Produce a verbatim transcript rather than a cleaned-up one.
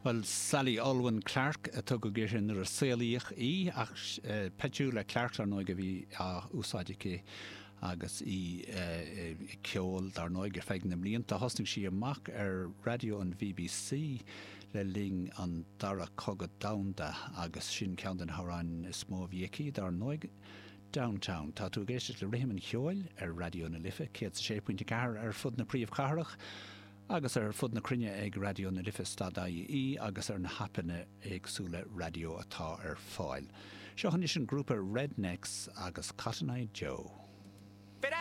Well Sally Olwen Clark a tugadh uirthi nuair a saolaíodh í ach eh, Petula Clark ar ndóigh a bhí á úsáid aici agus í ag ceol dar ndóigh ar feadh na mblianta thosnaigh sí amach ar raidió an BBC le linn an dara cogadh domhanda agus sin ceann de na hamhráin is mó a bhí aici dar ndóigh Downtown. Tá tú ag éisteacht le rithim an cheoil ar Raidió na Life céad sé pointe ceathair ar fud na príomhchathrach agus ar fud na cruinne ag Raidió na Life dot ie agus ar na haipeanna éagsúla raidió atá ar fáil. Seo anois an grúpa Rednex agus Cotton Eye Joe.